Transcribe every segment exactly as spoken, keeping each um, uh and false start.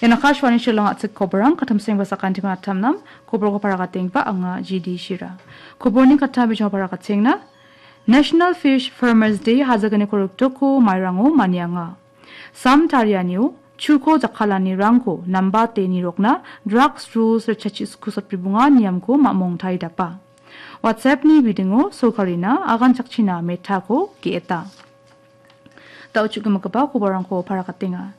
Ian Akashvani Shillong a·chik koborang, katamsengba sakantima atamnam, koborko parakatengba anga G D Shira. Koborni kata bijong parakatengna, National Fish Farmers Day hajagni koruk doko mairango manianga. Sam tarianio, chuko jakkalanirangko nambate nirokna drugs rules richachi sku sotbribonga niamko mamong taidapa. WhatsApp-ni bidingo sorkarina aganchakchina Meta-ko ge·eta. Da·o chu·gimigipa koborrangko parakatenga.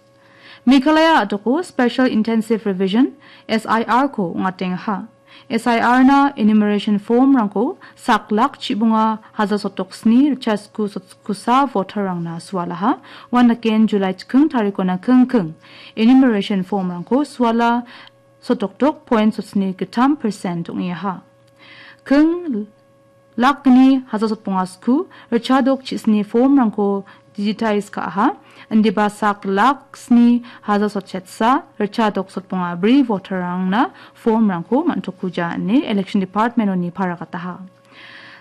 Meghalaya a·doko Special Intensive Revision, S I R-ko ong·atengaha. S I R-na enumeration form-rangko sak lak chibonga haja sotok sni richa sku sotkusa voter-rangna sualaha. Uan daken July chikking tarikona kingking enumeration form-rangko suala sotokdok point sotsni gittam percent ong·eaha. King lakni haja sotbonga sku, richadok chisni form-rangko digitize ka·aha, indiba sak lak sni haja sotchetsa, richadok sotbonga bri voter-rangna form-rangko man·tokuja ine Election Department-oni parakataha.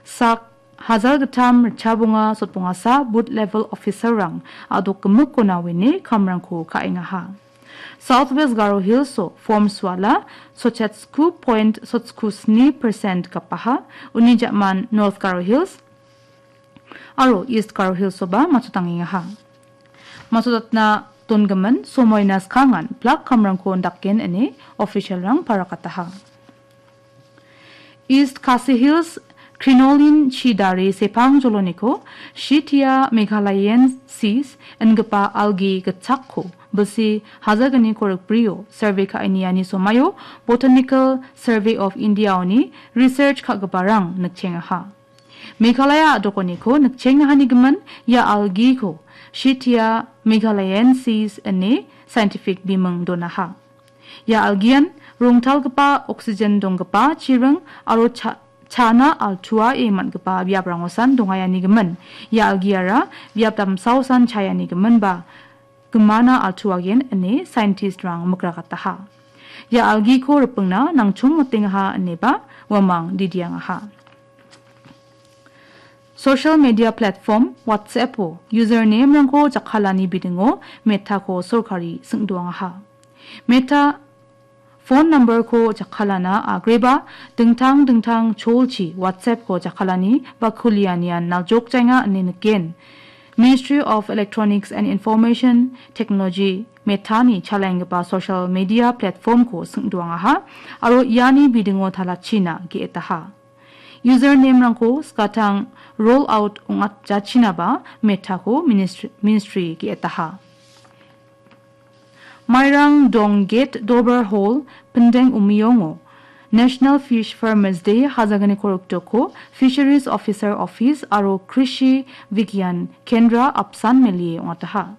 Sak hajar gittam richabonga sotbongasa booth level officer-rang a·dok gimikona uine kamrangko ka·engaha. South West Garo Hills-o form suala sochetsku point sotsku sni percent gapaha, uni ja·man North Garo Hills aro East Garo Hills-oba matchotangengaha. Matchotatna dongimin somoina skangan plak kamrangko ondaken ine official-rang parakataha. East Khasi Hills Crinoline Chidare Sepang Joloniko Shitia Meghalayensis ingipa algae gitchakko bilsi hajalgni korikbrio survey ka·eniani somaio Botanical Survey of India-oni research ka·giparang nikchengaha. Meghalaya a·dokoniko nikchengahanigimin ia algae-ko Shitia Meghalayensis ine scientific biming donaha. Ia algae-an rongtalgipa oxygen donggipa chiring aro cha-, chana altuae man·gipa biaprangosan dongaianigimin. Ia algae-ara biap damsaosan chaianigiminba gimana altuagen ine scientist-rang mikrakataha. Ia algae-ko ripingna nangchongmotengaha ineba uamang didiangaha. Social media platform WhatsApp-o username-rangko jakkalani bidingo Meta-ko sorkari singdoangaha. Meta phone number-ko jakkalana agreba dingtang dingtang cholchi WhatsApp-ko jakkalani ba kulianian naljokjaenga ine niken. Ministry of Electronics and Information Technology Meta-ni chalaenggipa social media platform-ko singdoangaha aro iani bidingo talachina ge·etaha. Username-rangko skatang roll out ong·atjachinaba Meta-ko ministry, ministry ge·etaha. Mairang Dong Gate Dober Hall, Pindeng Umiyongo National Fish Farmers Day hajalgni korikdoko Fisheries Officer Office aro Krishi Vigyan Kendra apsan melie ong·ataha.